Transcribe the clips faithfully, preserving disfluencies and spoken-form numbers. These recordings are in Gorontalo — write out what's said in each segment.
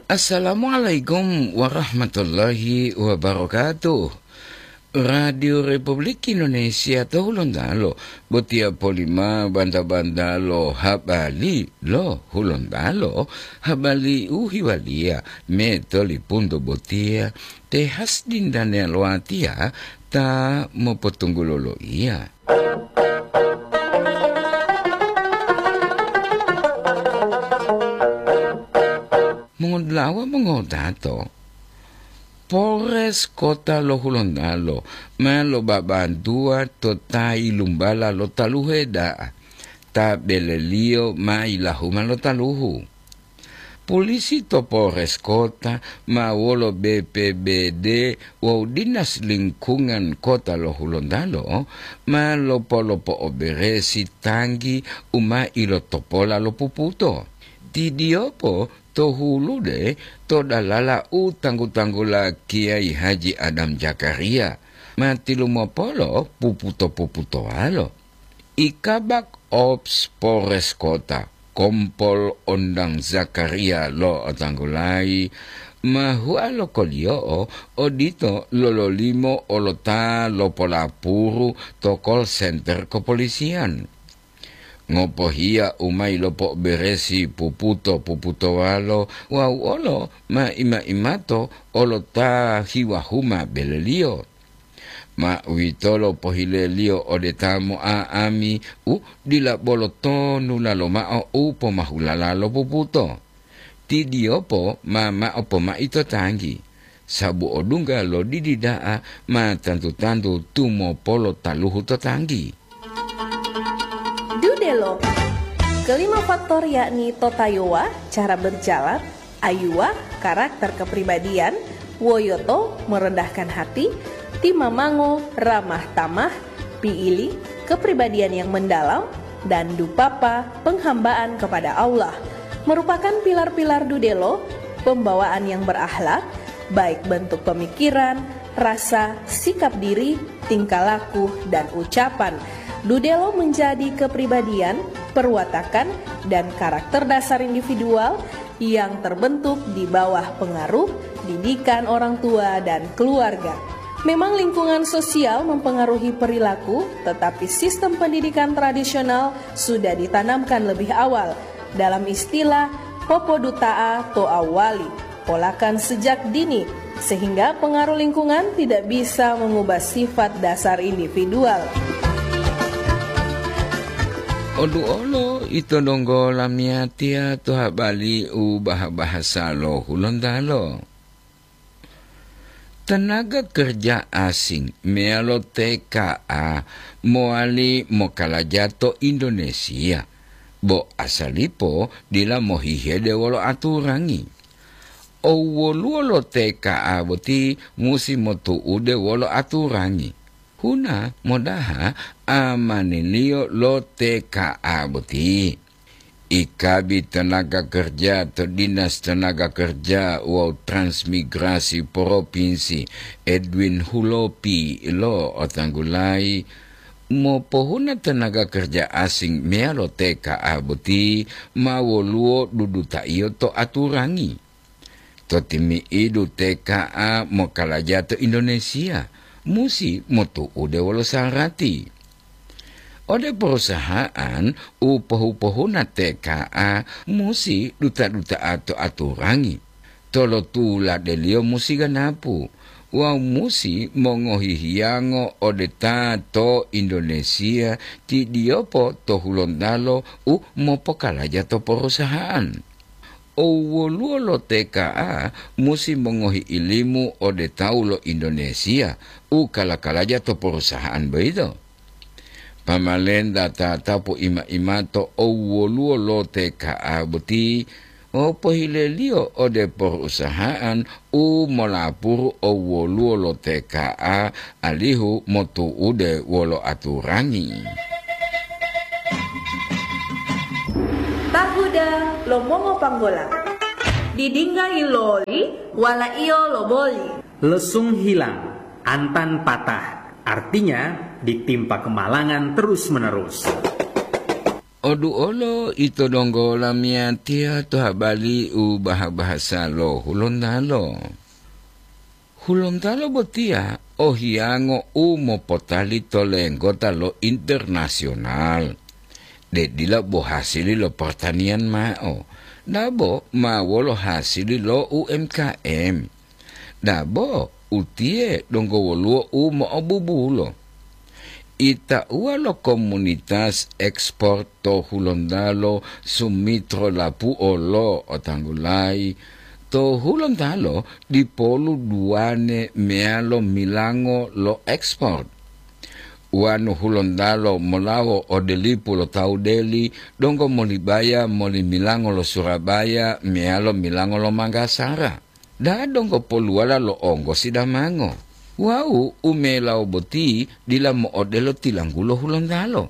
Assalamualaikum warahmatullahi wabarakatuh. Radio Republik Indonesia to Hulontalo, botiya polima banta-banta lo habari lo Hulontalo, habari u hiwaliya me tolipunto botiya, te has dindane lo atiya ta mopotunggulo lo iya. Mongodulawa mongotato, Polres Kota lo Hulontalo ma lobabantuwa to ta yilumbala lo taluhe da'a, ta beleliyo ma yilahuma lo taluhu. Polisi to Polres Kota ma wolo B P B D wawu Dinas Lingkungan Kota lo Hulontalo ma lopolopo'oberesi tanggi u ma ilotopola lo puputo. Tidiyopo to hulude to dalala u tanggu-tanggula Kiai Haji Adam Zakaria, ma tilumopolo puputo-puputowalo. I Kabak Ops Polres Kota, Kompol Ondang Zakaria lo'otanggulayi ma hua lo koliyo'o odito lololimo olota lopolapuru to call center kepolisian. Ngopohiya u ma yilopo'oberesi puputo-puputowalo wawu olo ma ima-imato olota hiwahuma beleliyo. Ma uwitolo pohileliyo ode ta mo'a'ami u dila bolo tonula lomao u pomahulala lo puputo. Tidiyopo ma mao pomai to tanggi, sabu odungga lo didi da'a ma tantu-tantu tumopolo taluhu to tanggi. Dudelo. Kelima faktor yakni totayowa, cara berjalan, ayuwa, karakter kepribadian, woyoto, merendahkan hati, timamango, ramah tamah, piili, kepribadian yang mendalam, dan dupapa, penghambaan kepada Allah, merupakan pilar-pilar dudelo, pembawaan yang berakhlak, baik bentuk pemikiran, rasa, sikap diri, tingkah laku, dan ucapan. Dudelo menjadi kepribadian, perwatakan, dan karakter dasar individual yang terbentuk di bawah pengaruh didikan orang tua dan keluarga. Memang lingkungan sosial mempengaruhi perilaku, tetapi sistem pendidikan tradisional sudah ditanamkan lebih awal. Dalam istilah, popoduta'a to awali, polakan sejak dini, sehingga pengaruh lingkungan tidak bisa mengubah sifat dasar individual. Oduolo ito donggo lamiyatiya to habari u baha-bahasa lo Hulontalo. Tenaga kerja asing meyalo T K A mowali mokalaja to Indonesia, bo asalipo dila mohihede wolo aturangi. Owwoluwo lo T K A boti musi motu'ude wolo aturangi. Huna modaha amaniliyo lo T K A boti. Ikabi tenaga kerja to Dinas Tenaga Kerja wawu Transmigrasi Propinsi, Edwin Hulopi, lo otanggulayi, mopohuna tenaga kerja asing meyalo T K A boti ma woluwo dudutaiyo to aturangi. To timi'idu T K A mokalaja to Indonesia, musi motu'ude wolo sarati. Ode perusahaan u pohu-pohuna T K A musi duta-duta'a to aturangi, tolotuladeliyo musi ganapu, wawu musi mongohi hiyango ode ta to Indonesia tidiyopo to Hulontalo u mopokalaja to perusahaan. Owwoluwo lo T K A musi mongohi ilimu ode tawu lo Indonesia u kala-kalaja to perusahaan boyito. Pamalenta tatapu ima-imato owwoluwo lo T K A boti, o pohileliyo ode perusahaan u molapuru owwoluwo lo T K A alihu motu'ude wolo aturangi. Tahuda lo mongopanggola. Didingga iloli, walaiyo loboli. Lesung hilang, antan patah. Artinya, ditimpa kemalangan terus-menerus. Odu olo ito donggo lamiyatiya to habali u baha-bahasa lo Hulontalo. Hulontalo botiya o hiyango u mopotali to lenggota lo internasional, de dila bo hasili lo pertanian mao, dabo ma wolo hasili lo U M K M. Dabo utiye donggo woluwo u mo'obubulo. Itauwa lo komunitas ekspor to Hulontalo sumitro lapuo lo otanggulayi, to Hulontalo dipolu duwane meyalo milango lo ekspor. Wanu Hulontalo molawo ode lipu lo tawu deli donggo molibaya moli milango lo Surabaya meyalo milango lo Manggasara. Da donggo poluwala lo onggosi damango. Wawu u melawo boti dila mo'odelo tilanggulo Hulontalo.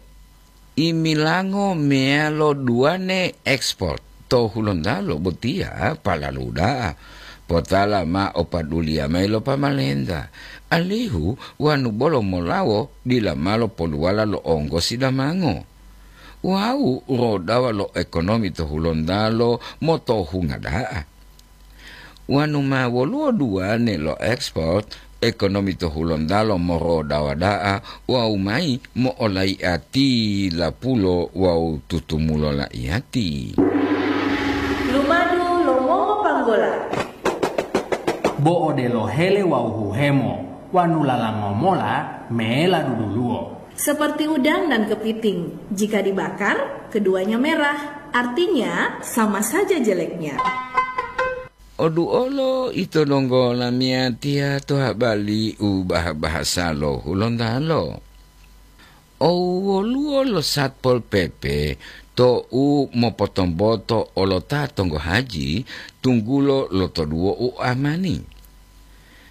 Imilango meyalo duwane ekspor to Hulontalo botiya palalu da'a. Potala ma o paduliya mayi lo pamalenta, alihu wanu bolo molawo dila malo poluwala lo onggosi damango. Wawu rodawa lo ekonomi to Hulontalo motohunga da'a. Wanu ma woluwo duwane lo ekspor, ekonomi to Hulontalo morodawa da'a wawu mayi mo'olaiati lapulo wawu tutumulo laiyati. Lumadu lo mongopanggola. Bo odelo hele wawu huhemo, wanu lalango mola mela duduluwo. Seperti udang dan kepiting, jika dibakar, keduanya merah, artinya sama saja jeleknya. Odu olo ito donggo lamiyatiya to habali u baha-bahasa lo Hulontalo. O woluwo lo Satpol P P to u mopotomboto olo ta tonggo haji tunggulo lo toduwo u amani.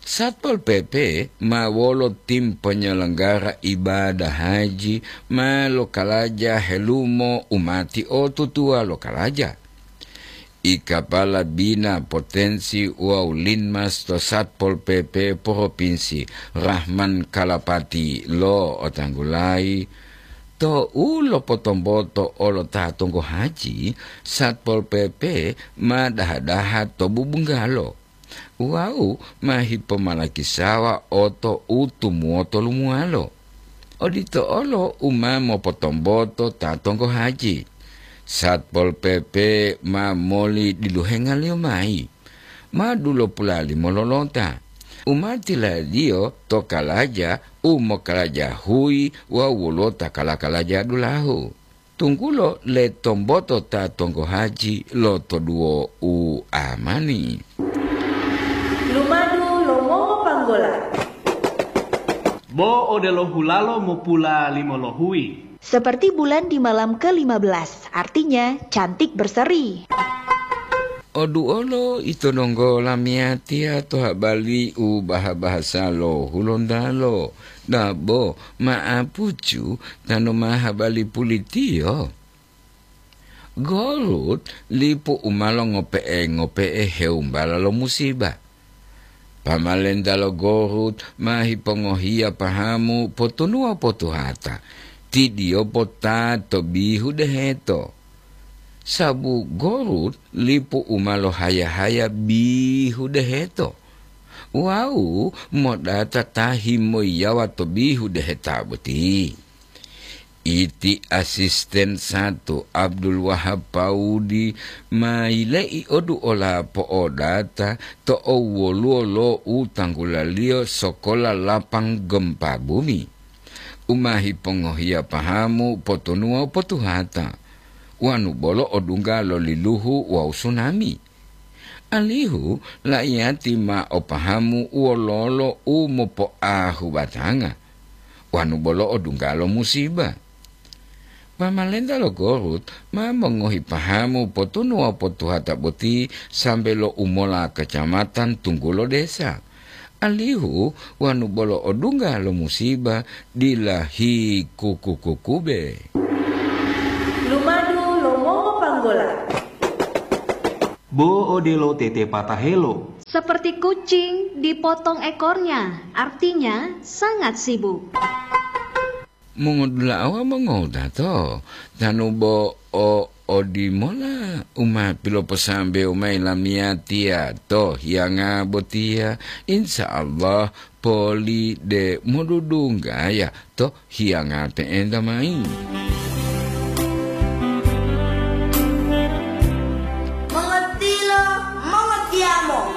Satpol P P ma wolo tim penyelenggara ibadah haji ma lokalaja helumo umati o tutuwa lokalaja. I Kapala Bina Potensi wawu Linmas to Satpol P P Propinsi, Rahman Kalapati, lo'otanggulayi, to u lopotomboto olo ta tonggo haji, Satpol P P ma daha-daha to bubunggalo wawu ma hipomalakisawa oto u tumuwoto lumuwalo. Odito olo u ma mopotomboto ta tonggo haji. Satpol P P ma moli diluhengaliyo mayi. Ma dulopula limo lolota. U ma tiladiyo to kalaja u mokalaja huyi wawu wolota kala-kalaja dulahu. Tunggulo le tomboto ta tonggo haji lo toduwo u amani. Lumadu lo mongopanggola. Bo odelo hulalo mopula limo lohuyi. Seperti bulan di malam ke lima belas, artinya cantik berseri. Oduolo ito donggo lamiyatiya to habali u baha-bahasa lo Hulontalo, dabo ma'apucu tanu ma habali pulitiyo. Gorut lipu u ma longope'e-ngope'e heumbala lo musiba. Pamalenta lo Gorut ma hipongohiya pahamu potunuwa potuhata, tidiyopo ta to bihu deheto. Sabu Gorut lipu u ma lohaya-haya bihu deheto, wawu modata ta himoyiyawa to bihu deheta boti. Iti asisten satu Abdul Wahab Paudi ma yile'i odu ola po'odata to owwoluwo lo u tanggulaliyo sokola lapang gempa bumi, u ma hipongohiya pahamu potunuwa potuhata, wanu bolo odungga lo liluhu wawu sunami. Alihu laiyati ma o pahamu wololo u mopoahu batanga, wanu bolo odungga lo musiba. Pamalenta lo Gorut ma mongohi pahamu potunuwa potuhata boti sambe lo umola kacamatan tunggulo desa. Alihu wanu bolo odungga lo musiba dila hikuku-kukube. Lumadu lo mongopanggola. Bo odelo tetepatahelo. Seperti kucing dipotong ekornya, artinya sangat sibuk. Mongodula'a wawu mongodato, tanu bo o odimola u ma piloposambewu mayi lamiyatiya to hiyanga botiya, insya Allah poli de modudunggaya to hiyanga pe'enta mayi.